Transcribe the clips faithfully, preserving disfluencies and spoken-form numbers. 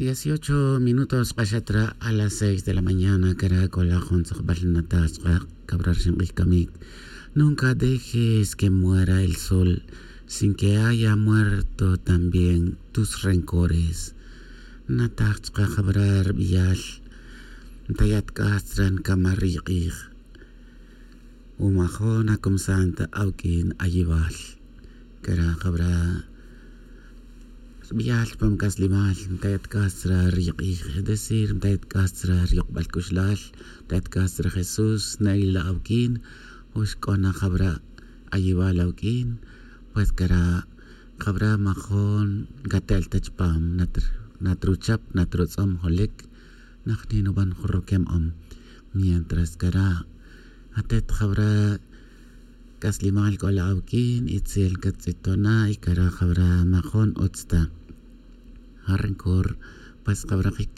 Dieciocho minutos k'axat ra a las seis de la mañana, cara' c'o la jun tz'ukbal nataj chka'. Cabra rixin k'ij camic. Nunca dejes que muera el sol sin que haya muerto también tus rencores. Nataj chka' cabra rbiyal. Ntayat c'as chra ncamar ri k'ij. Umajon acumsant awq'uin ayibal. Cara' jabra' rbiyal chupam c'aslimal mtayat c'as chra ri k'ij, es decir mtayat c'as chra ri yokbal c'uxlal, mtayat c'as chra jesús na ila' awq'uin. O xc'o na jabra' ayibal awq'uin. Pues cara' jabra' majon ncatel ta chupam. Natruchap natrutz'om jolic najni nuban jun roquem om. Mientras cara' atet jawra' c'aslimal c'o la awq'uin itzel cattz'ito na y cara' jawra' majon utz ta. Ja rencor pues jawra' jic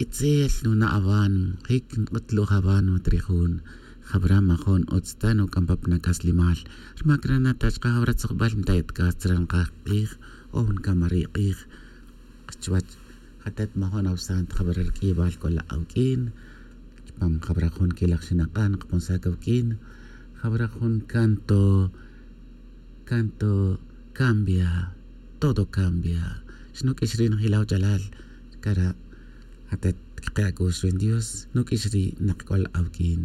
itzel nuna' awan jic nk'utluj awan mat ri jun. Jawra' majon utz ta nuc'am pa pna c'aslimal. Rma cara' nata' chka' jawra' tzujbal ntayat c'as chra nkaj k'ij o ncamar ri k'ij. Chuwech jatet majon awsant jabara' rq'uibal c'o la awq'uin. Chupam jabara' jun quilaj xinak'an kaponsac awq'uin. Jabara' jun canto canto cambia. Todo cambia. Xnuq'uix ri' njilaw ch'alal. Cara' jatet cake' ac'ux ri dios nuq'uix ri' nak c'o la awq'uin.